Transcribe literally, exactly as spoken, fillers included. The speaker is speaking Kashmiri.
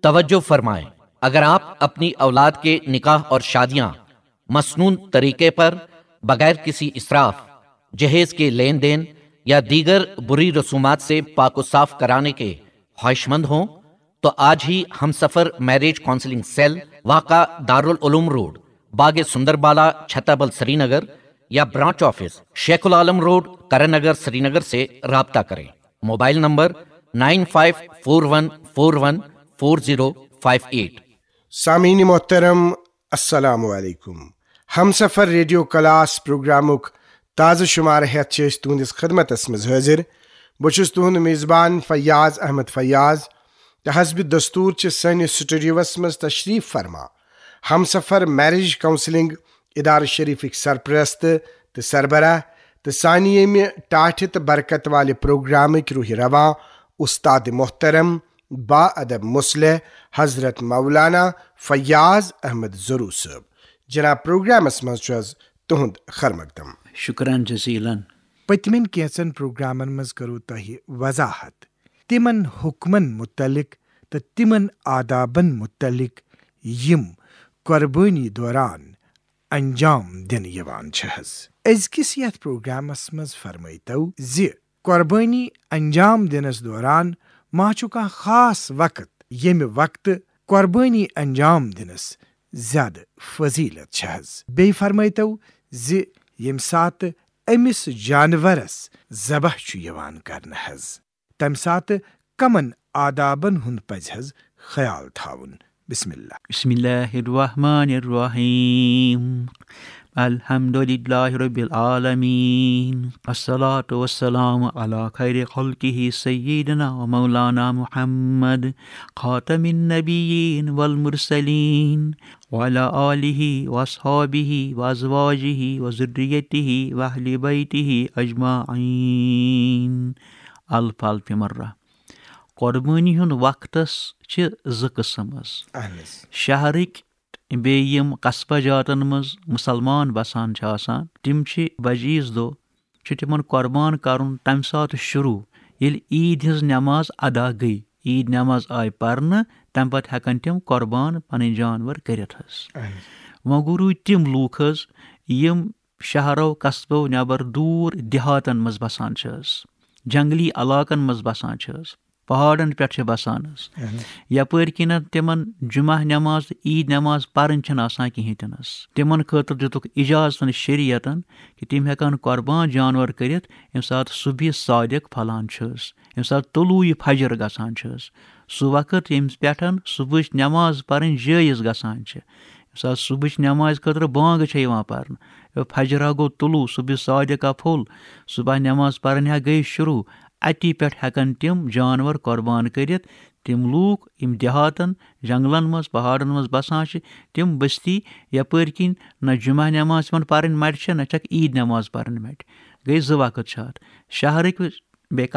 توجہ فرمائیں، اگر آپ اپنی اولاد کے نکاح اور شادیاں مسنون طریقے پر، بغیر کسی اسراف، جہیز کے لین دین یا دیگر بری رسومات سے پاک و صاف کرانے کے خواہشمند ہوں تو آج ہی ہم سفر میرج کاؤنسلنگ سیل، واقع دارالعلوم روڈ، باغ سندر بالا، چھتابل، سری نگر یا branch office, Sheikh ul-Alam road, Karan Nagar, Srinagar سے رابطہ کریں۔ Mobile number nine five four one four one four zero five eight. سامعین محترم، السلام علیکم۔ ہمسفر ریڈیو کلاس پروگرامُک تازٕ شمارٕ ہٮ۪تھ چھِ أسۍ تُہنٛدِس خدمتس منٛز حٲضِر۔ بہٕ چھُس تُہنٛد میزبان فیاض احمد فیاض، تہٕ حسب دستور چھِ سٲنِس سٹوڈیوس منٛز تشریف فرما ہمسفر میرج کاؤنسلنگ ادارٕ شریفٕکۍ سرپرست تہٕ سربراہ، تہٕ سانہِ ییٚمہِ ٹاٹھہِ تہٕ برکت والہِ پروگرامٕکۍ روح رواں، استاد محترم، با ادب مصلح، حضرت مولانا فیاض احمد زرو صٲب۔ جناب، پروگرامس منٛز چھُ حظ تُہُنٛد خیر مقدم۔ شکران جزیلا۔ پٔتمٮ۪ن کینٛژن پروگرامن منٛز کٔرٕو تۄہہِ وضاحت تِمن حکمن متعلق تہٕ تِمن آدابن متعلق یِم قربٲنی دوران انجام دِنہٕ یِوان چھِ حظ۔ أزکِس یتھ پروگرامس منٛز فرمٲیتو زِ قربٲنی انجام دِنس دوران ما چھُ کانٛہہ خاص وقت ییٚمہِ وقتہٕ قربٲنی انجام دِنس زیادٕ فضیلت چھِ حظ؟ بیٚیہِ فرمٲیتو زِ ییٚمہِ ساتہٕ أمِس جانورس ذبح چھُ یِوان کرنہٕ حظ، تمہِ ساتہٕ کمن آدابن ہُنٛد پزِ حظ خیال تھاوُن؟ بسم اللہ۔ بسم اللہ الرحمن الرحیم۔ الحمد للہ رب العالمین، والصلاة والسلام علی خیر خلقہ سیدنا و مولانا محمد خاتم النبیین والمرسلین وعلی آلہ واصحابہ وازواجہ وذریتہ واہل بیتہ اجمعین۔ الف الف مرہ۔ قربٲنی ہُنٛد وقتس چھِ زٕ قٕسم حظ۔ اہن حظ۔ شہرٕکۍ بیٚیہِ یِم قصبہٕ جاتن منٛز مُسلمان بسان چھِ آسان، تِم چھِ بجہِ عیٖذ دۄہ چھُ تِمن قۄربان کرُن تمہِ ساتہٕ شروع، ییٚلہِ عیٖد ہٕنٛز نٮ۪ماز ادا گٔے۔ عیٖد نٮ۪ماز آیہِ پرنہٕ، تمہِ پتہٕ ہٮ۪کن تِم قۄربان پنٕنۍ جانور کٔرِتھ حظ۔ اہن حظ۔ وۄنۍ گوٚو روٗدۍ تِم لوٗکھ حظ، یِم شہرو قصبو نٮ۪بر دوٗر دیہاتن منٛز بسان چھِ حظ، جنگلی علاقن منٛز بسان چھِ حظ، پہاڑن پٮ۪ٹھ چھِ بسان حظ۔ اہن حظ۔ یپٲرۍ کِنٮ۪تھ تِمن جمعہ نٮ۪ماز تہٕ عیٖد نٮ۪ماز پرٕنۍ چھِنہٕ آسان کِہیٖنۍ تہِ نہٕ حظ۔ تِمن خٲطرٕ دِتُکھ اجازت شریعتن کہِ تِم ہٮ۪کن قۄربان جانور کٔرِتھ، ییٚمہِ ساتہٕ صبحِ صادق پھۄلان چھُ حظ، ییٚمہِ ساتہٕ طلوع فجر گژھان چھُ حظ۔ سُہ وقت ییٚمہِ پٮ۪ٹھ صبحٕچ نٮ۪ماز پرٕنۍ جٲیز گژھان چھِ، ییٚمہِ ساتہٕ صبحٕچ نٮ۪مازِ خٲطرٕ بانٛگ چھےٚ یِوان پرنہٕ، فجرا گوٚو طلوع، صبحِ صادقہ پھوٚل، صبح نٮ۪ماز پرٕنۍ ہا گٔے شروع، اَتی پٮ۪ٹھ ہٮ۪کن تِم جانور قۄربان کٔرِتھ۔ تِم لوٗکھ یِم دیہاتن، جنگلن منٛز، پہاڑن منٛز بسان چھِ، تِم بستی یپٲرۍ کِنۍ نہ جمعہ نٮ۪ماز تِمن پرٕنۍ مٹہِ چھےٚ، نہ چھکھ عیٖد نٮ۪ماز پرٕنۍ مٹہِ۔ گٔے زٕ وقت چھِ اتھ۔ شہرٕکۍ بیٚیہِ